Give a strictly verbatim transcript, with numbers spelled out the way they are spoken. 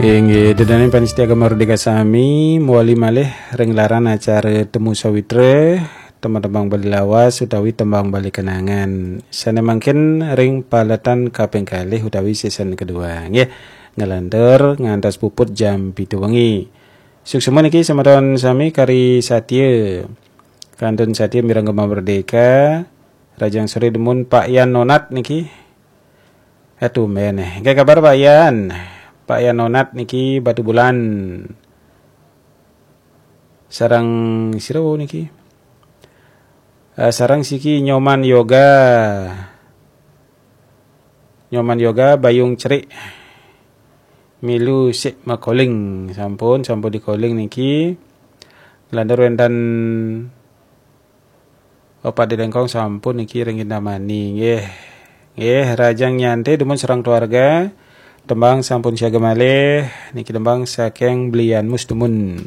Inggih, ida dané pamiarsa Gema Merdeka sami, mawali malih ring gelaran acara Temu Sawitra, tembang-tembang Bali lawas utawi tembang Bali kenangan. Sané mangkin ring paletan kaping kalih utawi season kedua. Nggih, nglantur ngantos puput jam pitu wengi. Suksma niki semeton sami kari satia. Kantun satia mireng Gema Merdeka. Rahajeng soré dumun Pak Yan Nonat niki. Eh, tumben, eh. Nggih, kabar Pak Yan? Pak Yan Nonat niki Batubulan. Sareng sira wau niki? Eh, sareng siki Nyoman Yoga. Nyoman Yoga Bayung Cerik. Milu sik makoling. Sampun, sampun dikoling niki. Nglantur wénten Opak Dilengkong sampun niki ring Kintamani, nggih. Nggih, rahajeng nyantai dumun sareng keluarga. Tembang sampun siaga malih, niki tembang saking Belian Mus dumun.